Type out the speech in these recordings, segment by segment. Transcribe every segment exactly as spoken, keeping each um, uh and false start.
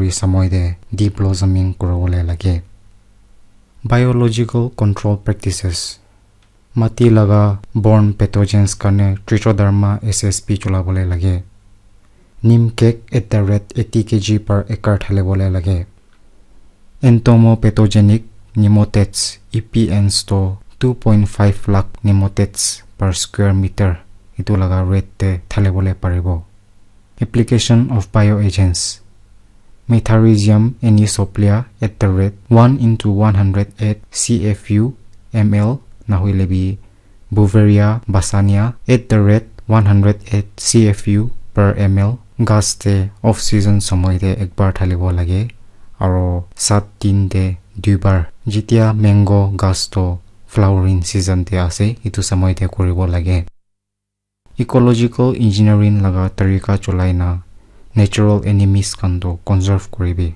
February samoi te deblossoming kuribole lage. Biological control practices. Mati laga borne pathogens karne Trichoderma S S P cholabole lage. Neem cake at the rate eighty K G per acre thalibole lage. Entomopathogenic nematodes, E P Ns to two point five lakh nematodes per square meter itu laga rate te thalibole paribo. Application of bioagents. Metarhizium anisopliae at the rate one into one hundred eight C F U M L, nahoile bi Beauveria bassania at the rate one hundred eight C F U per M L. Gas te off season samoi te ekbar thalibo lage, aro sat din te duibar. Jitia mango gas to flowering season te ase, itu samoi te kuribo lage. Ecological engineering laga tarika cholai na natural enemies khan to conserve kuribi.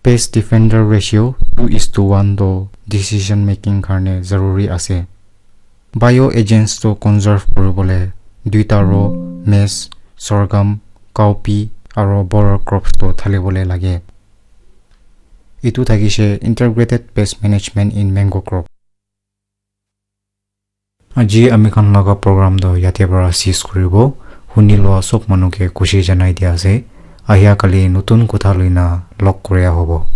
Pest defender ratio two is to one to decision making karne zaruri ase. Bioagents to conserve kuribole duita row, maize, sorghum, cowpea aro border crops to thalibole lage. Itu thakishe integrated pest management in mango crop. Aji ami khan laga program to yate para cease kuribo. Huni loa sob manu ke khushi janai dia ase. Ahia kali notun kotha loina log koria hobo.